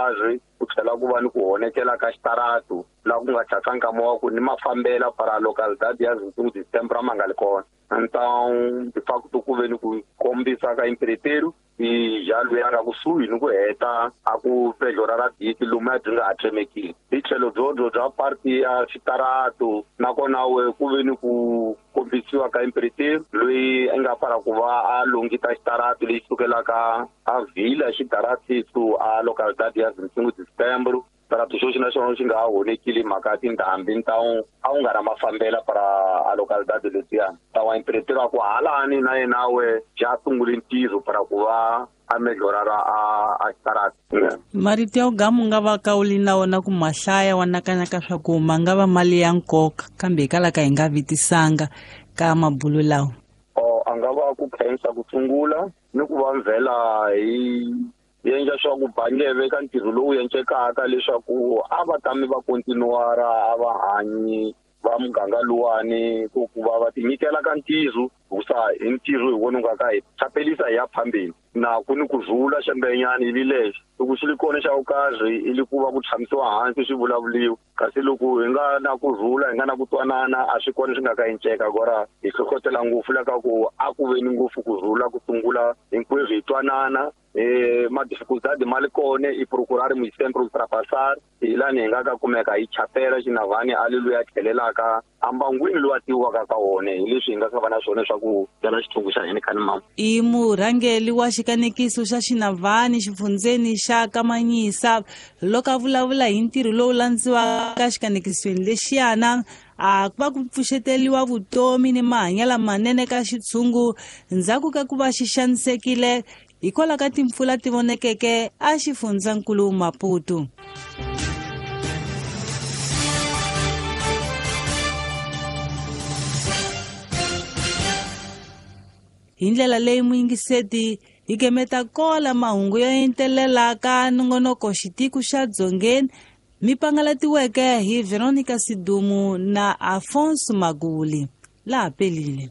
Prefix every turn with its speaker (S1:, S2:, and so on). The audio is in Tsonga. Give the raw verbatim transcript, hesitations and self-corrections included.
S1: Azwi ku tlhela ku va ni ku honekela ka xitaratu laha ku nga thyaka nkama wa ku ni mafambela para localidade ya vinte e cinco de setembro a ma nga li kona. Então de facto ku ve ni ku kombisa ka empreiteiro i ja loyi a nga kusuhi ni ku heta a ku pedlora ra diki lomu a byi nga ha tsemekile. Hi tlhelo byobyo bya parti ya xitaratu nakona we ku ve ni ku kombisiwa ka empreiteiro loyi a nga para ku va a longita xitaratu lexi sukelaka a vila xitaratiso a localidade ya vinte e cinco de setembro. Xitarato xo xi na xona xi nga ha honekile mhaka ya tindhambi ntawu a wu nga na mafambela para a localidade letiyani. Tawa empreiteiro a ku halani na yena we ja sungule ntirho para ku va a melhorara a a xitaratu.
S2: Marito ya gamu nga va ka uli na wona ku mahlaya wa nakanyaka swa ku ma nga va mali ya nkoka kambe hikwalaho ka hi nga vitisanga ka mabulu lawa.
S1: O a nga va ku khensa ku sungula ni ku va mvela hi endla swa ku bangeve ka ntirho lowu endlekaka leswaku a va tami va kontinuara a va hanyi va muganga luwani ku ku va va tinyikela ka ntirho hikusa hi ntirho hi wona wu nga ka hi chapelisa hi ya phambeni na ku ni ku rhula xembenyani ivi lexi loko xi li kona xa vukarhi i li ku va ku tshamisiwa hansi swi vulavuriwa kasi loko hi nga na ku rhula hi nga na ku twanana a swi kona swi nga ka enceka kora hi hlohlotela ngopfu la ka ku a ku ve ni ngopfu ku rhula ku sungula hinkwerhu hi twanana eh ma dificuldade ma li kona i procurar muito sempre ultrapassar hi lani hi nga ka kumeka hi chapela xinavani a li loyi a tlhelelaka ambangwini lowu a tiviwaka ka wona hi leswi hi nga ka va na swona swa ku byala xithungu xa hina khani mama.
S2: I murhangeri wa xikanekiso xa Xinavani xifundzeni xa Kamanyisa loko a vulavula hi ntirho lowu landziwaka xikanekisweni lexiyana a ku va ku pfuxeteliwa vutomi ni mahanyelo lamanene ka xitshungu ndzhaku ka ku va xi xanisekile hikwalaho ka timpfula ti vonekeke a xifundzankulu Maputo. Hi ndlela leyi muyingiseti hi gemeta kola mahungu yo entelela ka nongonoko xitiko xa Dzongeni mi pangalatiweke hi Veronica Sidumu na Afonso Maguli. Laha pelile.